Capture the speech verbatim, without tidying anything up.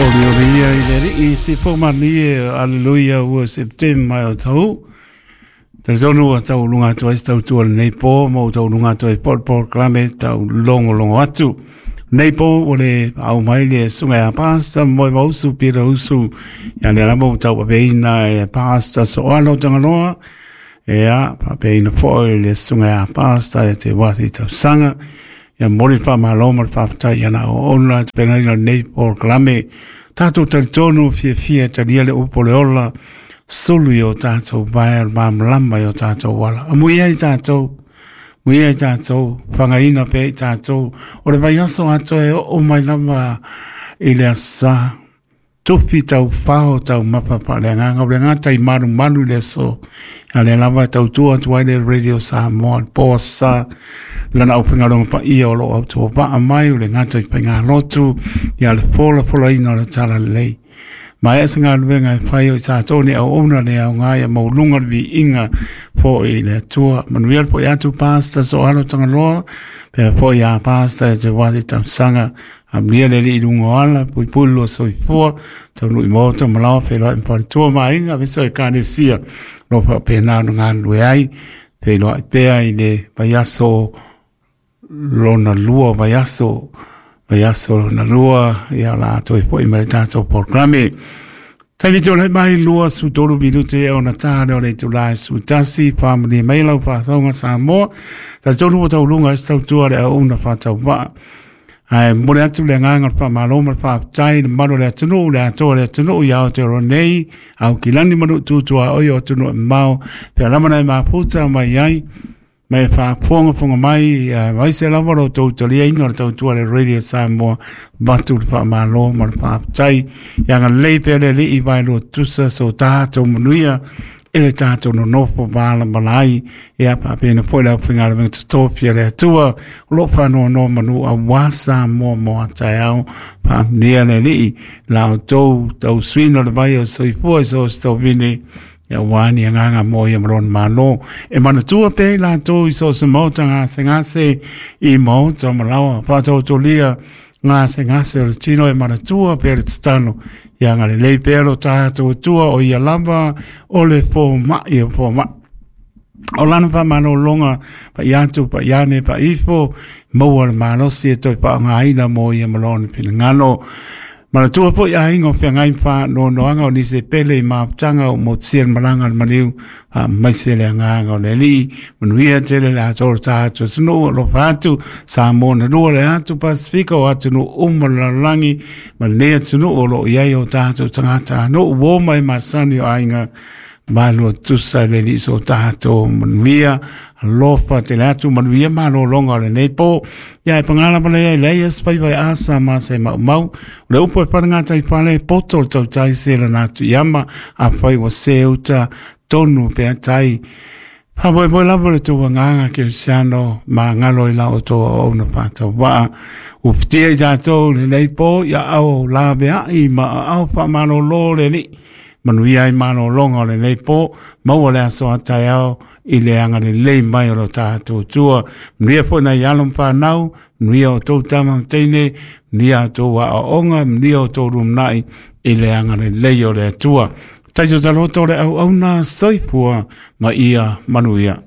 Oliori ia i le alii se fomani aleluia ua September o tau. Talitonu ua tauuluga atu ai se tautua lenei po ma ua tauuluga atu ai po le polokalame tau logologo atu. Nei po ua le au mai le susuga ia Pastor Moevausu Peter Usu ia lea lava ua tauaveina e Pastor Soalo Tagaloa ia faapeina foi le susuga ia Pastor e te wati tausaga ia momoli le faamalo ma le faafetai ia na auauna tapenaina lenei polokalame. Tatou talitonu fiafia e talia le upu o le ola sulu i o tatou vae o le malamalama i o tatou ala. Amuia i tatou, amuia i tatou, fagaina pea i tatou. O le vaiaso atoa e oo mai lava i le asa. Tufi tau fao tau mapa paaleagaga o le gata i malumalu i le aso. A lea lava e tautua atu ai le Radio Samoa, le po asa lana aufaigaluega paia o loo autovaa mai o le gata i faigalotu ia le folafolaina o le talalelei. Ma e se galuega e fai o i tatou ni auauna le aoga ia mauluga le viiga foi i le Atua. Manuia le foi atu Pastor Soalo Tagaloa, pea foi ia Pastor e te wati tausaga. Amuia le alii i luga o ala, puipui le lua soifua, taunuu i maota ma laoa feiloai ma faletua ma aiga, aemaise o Ekalesia o lo o faapena ona galulue ai, feiloai pea i le vaiaso lona lua, vaiaso, vaiaso lona lua, ia o le a toe foi mai le tatou polokalame. Taimi tulai mai lua su tolu minute e ona tā leo le itula e su tasi, whaamalie mai lau whaasauga Samoa, talitonu ua tauluga ai se tautua le auauna faatauvaa. Ae momoli atu le agaga o le faamalo ma le faafetai i le mamalu o le atunuu, le atoa o le atunuu ia Aotearoa nei, Aukilani ma Nuu tutua oi o atunuu e mamao, pea lava na e mafuta mai ai, ma e faafogafoga mai, aemaise lava lo outou taliaina o le tautua le Radio Samoa, avatu le faamalo ma le faafetai. Ia agalelei pea le Alii vaelua tutusa so tatou manuia i le tatou nonofo malamala ai, ia faapena foi le aufaigaluega totofi a le Atua o loo faanonomanu aua Samoa mo a taeao. Faamanuia le Alii la outou tausuina o le vai o soifua i so o se tovine aua ni agaga mo ia ma lona malo. E manatua pea i latou i so o se maota gasegase i maota ma laoa faatautolia gasegase o le tino e manatua pea le tatalo. Ia agalelei pea lo tatou Atua o ia lava o le fomai o fomai. O lana faamalologa paia atu paia ane paia ifo maua le malosi e toe faaaogaina mo ia ma lona finagalo. Manatua foi aiga o feagai ma faanoanoaga o nisi e pele i mafutaga o motusia le malaga a le maliu, faamaise le agaga o le Alii. Manuia tele le atoa o le tatou atunuu, alofa atu Samoa na lua le atu Pasifika o atunuu uma o le lalolagi ma lenei atunuu o loo i ai o tatou tagatanuu ua o mai masani o aiga malua tutusa i le Alii so tatou manuia. Alofa tele atu manuia malologa o lenei po. Ia e paga lava lea e leai se faiva e asa ma se maumau. O le upu e palegata i fale poto le tautai se lana atu iama afai ua se uta tonu pea tai. Faamoemoe lava le tou agaga kerisiano ma galo i la outou auauna faatauvaa. Ua fitia i tatou lenei po ia aao laveai ma aao faamalōlō le Alii. Manuia ai malologa o lenei po, maua le aso a taeao i le agalelei mai o lo tatou Atua. Manuia foi nai alo ma fanau, manuia o tou tama ma teine, manuia outou aoaoga, manuia outou lumanai i le agalelei o le Atua. Taito taloto le auauna soifua ma ia manuia.